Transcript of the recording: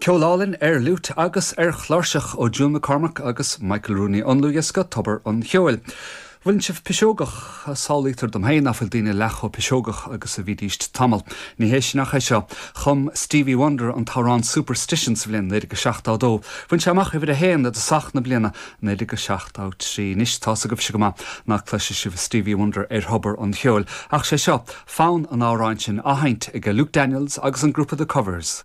Ceol álainn ar fhliúit agus ar chláirseach ó June McCormack agus Michael Rooney ón ndlúthdhiosca Tobar an Cheoil. Bhfuileann sibh piseogach? Samhlaítear dom féin ná fuil daoine leath chomh piseogach agus a bhídíst tamall. Ní hé sin ach é seo. Chum Stevie Wonder an t-amhrán Superstition sa bhliain 1972. Bhain sé amach uimhir a haon i dtosach na bliana 1973. Anois tá's agaibhse go maith ná cloisfidh sibh Stevie Wonder ar Thobar an Cheoil. Ach sé seo fonn an amhráin sin á sheinnt ag Luke Daniels agus an grúpa The Covers.